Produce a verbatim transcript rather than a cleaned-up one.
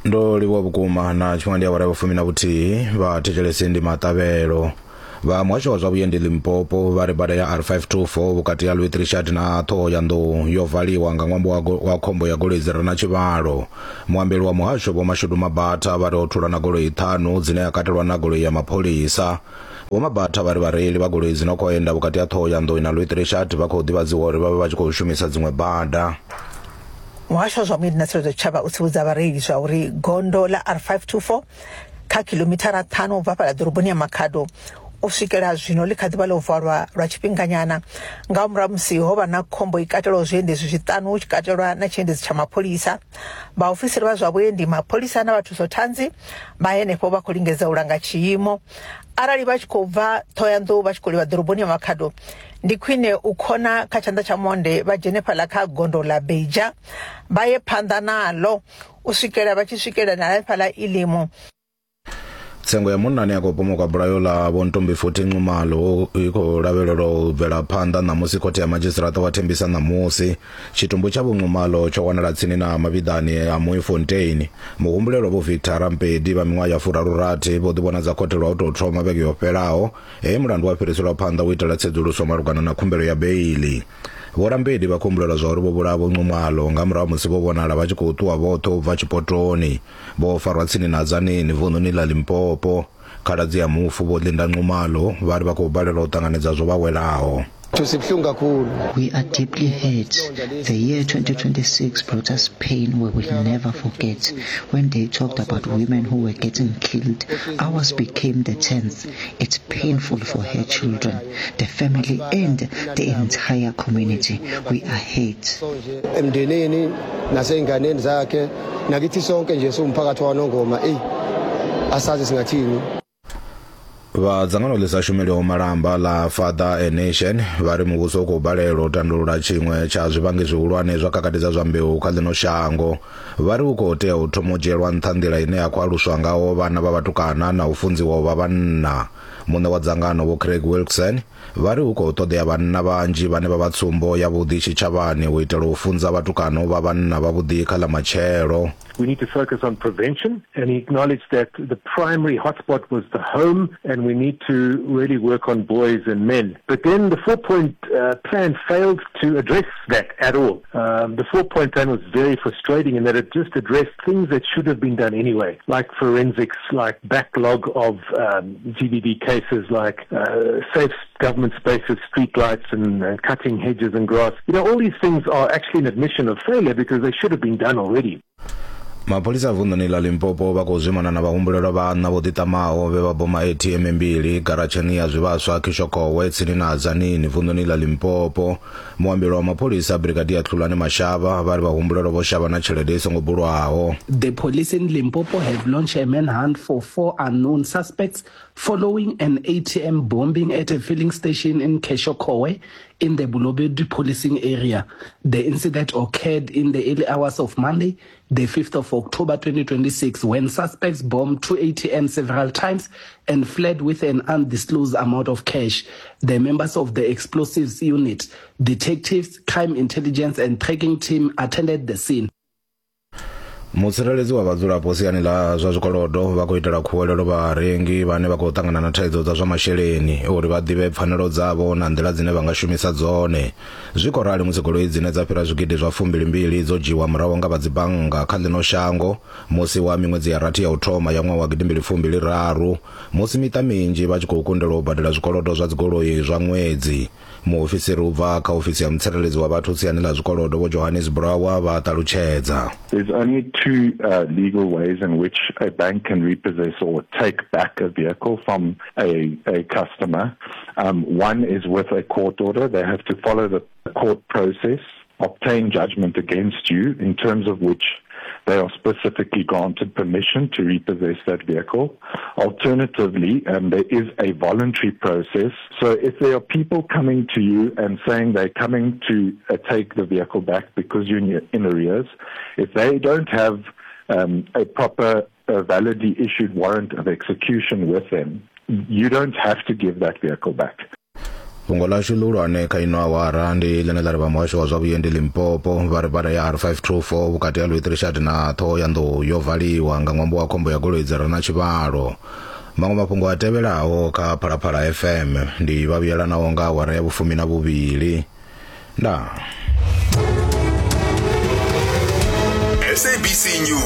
Ndo livhuwa vhukuma na tshifhinga ndi awara ya vhufumi na vhuthihi vha thetshelesi ndi maṱavhelo. Vha muhasho wa zwa vhuendi Limpopo vha ri bada ya R five two four vhukati ha Louis Trichardt na Ṱhohoyanḓou yo valiwa nga ṅwambo wa, wa khombo ya goloi dzi re na tshivhalo. Muambeli wa muhasho Vho Mashudu Mabatha vha ri ho thulwa na goloi ṱhanu dzine ya katelwa na goloi ya mapholisa. Vho Mabatha vha ri vhareili vha goloi dzi no khou enda vhukati ha Ṱhohoyanḓou na Louis Trichardt vha khou ḓivhadziwa uri vha vhe vha tshi khou shumisa dziṅwe bada. Muhasho wa zwa vhuendi na tsireledzo tshitshavha u tsivhudza vhareili zwa uri gondo ḽa R five two four kha kilomithara ṱhanu u bva fhaḽa ḓoroboni ya Makhado u swikela zwino ḽi kha ḓivha ḽo valwa lwa tshifhinganyana nga murahu musi ho vha na khombo i katelaho zwiendedzi zwiṱanu hu tshi katelwa na tshiendedzi tsha mapholisa. Vhaofisiri vha zwa vhuendi, mapholisa na vhathusothanzi vha henefho vha khou lingedza u langa tshiimo. Arali vha tshi khou bva Ṱhohoyanḓou vha tshi khou livha ḓoroboni ya Makhado, ndi khwine u khona kha tshanḓa tsha monde vha dzhene fhaḽa kha gondo ḽa Beija vha ye phanḓa naḽo u swikela vha tshi swikela na fhaḽa Ilimu. Tsengo ya munna ane a khou pomoka bulayo ḽa Vho Ntombifuthi Nxumalo i khou lavhelelwa u bvela phanḓa ṋamusi khothe ya madzhisiṱiraṱa wa Thembisa ṋamusi. Tshitumbu tsha Vho Nxumalo tsho wanala tsini na mavhiḓani a Mooifontein. Muhumbulelwa Vho Victor Rampedi vha miṅwaha ya furaru-rathi vho ḓivhonadza khothe lwa u tou thoma vhege yo fhelaho, he mulandu wa fhiriselwa phanḓa u itela tsedzuluso malugana na khumbelo ya beiḽi. Vho Rampedi vha khou humbulelwa zwa uri vho vhulaha Vho Nxumalo nga murahu musi vho vhonala vha tshi khou ṱuwa vhoṱhe u bva tshipotoni. Vho farwa tsini na Tzaneen vunḓuni ḽa Limpopo. Khaladzi ya mufu Vho Linda Nxumalo vha ri vha khou balelwa u ṱanganedza zwo vha welaho. We are deeply hurt. The year twenty twenty-six brought us pain we will never forget. When they talked about women who were getting killed, ours became the tenth. It's painful for her children, the family, and the entire community. We are hurt. Emndenini naseyinganeni zakhe nakithi sonke nje siwumphakathi waNongoma eh asazi singathini. Vha dzangano ḽi sa shumeliho malamba ḽa Father a Nation vha ri muvhuso u khou balelwa u tandulula tshiṅwe tsha zwivhangi zwihulwane zwa khakhathi dza zwa mbeu kha ḽino shango. Vha ri u khou tea u thoma u dzhielwa nṱha nḓila ine ya khou aluswa ngaho vhana vha vhatukana na u funziwa u vha vhanna. Muṋe wa dzangano Vho Craig Wilson vha ri hu khou ṱoḓea vhanna vhanzhi vhane vha vha tsumbo yavhuḓi tshitshavhani u itela u funza vhatukana u vha vhanna vhavhuḓi kha ḽa matshelo. We need to focus on prevention, and he acknowledged that the primary hotspot was the home, and we need to really work on boys and men. But then the four-point uh, plan failed to address that at all. Um, the four-point plan was very frustrating in that it just addressed things that should have been done anyway, like forensics, like backlog of um, G B V cases, like uh, safe government spaces, street lights, and, and cutting hedges and grass. You know, all these things are actually an admission of failure because they should have been done already. Mapholisa a vunḓuni ḽa Limpopo vha khou zwimana na vhahumbulelwa vhaṋa vho ḓiṱamaho vhe vha boma A T M mbili garatsheni ya zwivhaswa Kishokowe tsini na Tzaneen vunḓuni ḽa Limpopo. Muambeli wa mapholisa Brigadier Tlulani Mashava vha ri vhahumbulelwa vho shavha na tshelede i songo bulwaho. The police in Limpopo have launched a manhunt for four unknown suspects following an A T M bombing at a filling station in Kishokowe in the Bolobedu policing area. The incident occurred in the early hours of Monday, the fifth of October twenty twenty-six, when suspects bombed two A T Ms several times and fled with an undisclosed amount of cash. The members of the explosives unit, detectives, crime intelligence and tracking team attended the scene. Mutsireledzi wa vhadzulapo siani ḽa zwa zwikolodo vha khou itela khuwelelo vharengi vhane vha khou ṱangana na thaidzo dza zwa masheleni uri vha ḓivhe pfanelo dzavho na nḓila dzine vha nga shumisa dzone. Zwi khou rali musi goloi dzine dza fhira zwigidi zwa fumbilimbili dzo dzhiwa murahu nga vha dzibannga kha ḽino shango musi wa miṅwedzi ya rathi ya u thoma ya ṅwaha wa gidimbili fumbili raru, musi miṱa minzhi vha tshi khou kundelwa u badela zwikolodo zwa dzigoloi zwa ṅwedzi. Muofisiri u bva kha ofisi ya mutsireledzi wa vhathu siani ḽa zwikolodo Vho Johannes Brower vha ṱalutshedza. There's only two uh, legal ways in which a bank can repossess or take back a vehicle from a, a customer. Um, one is with a court order. They have to follow the court process, obtain judgment against you in terms of which they are specifically granted permission to repossess that vehicle. Alternatively, um, there is a voluntary process. So if there are people coming to you and saying they're coming to uh, take the vehicle back because you're in, in arrears, if they don't have um, a proper uh, validly issued warrant of execution with them, you don't have to give that vehicle back. Fhungo ḽashu ḽihulwane kha ino awara ndi ḽine ḽa ri vha muhasho wa zwa vhuendi Limpopo vha ri bada ya R five two four vhukati ha Louis Trichardt na Ṱhohoyanḓou yo valiwa nga ṅwambo wa khombo ya goloi dzi re na tshivhalo. Maṅwe mafhungo a tevhelaho kha Phalaphala F M ndi vha vhuyelanaho nga awara ya vhufumi na vhuvhili. Ndaa. S A B C News.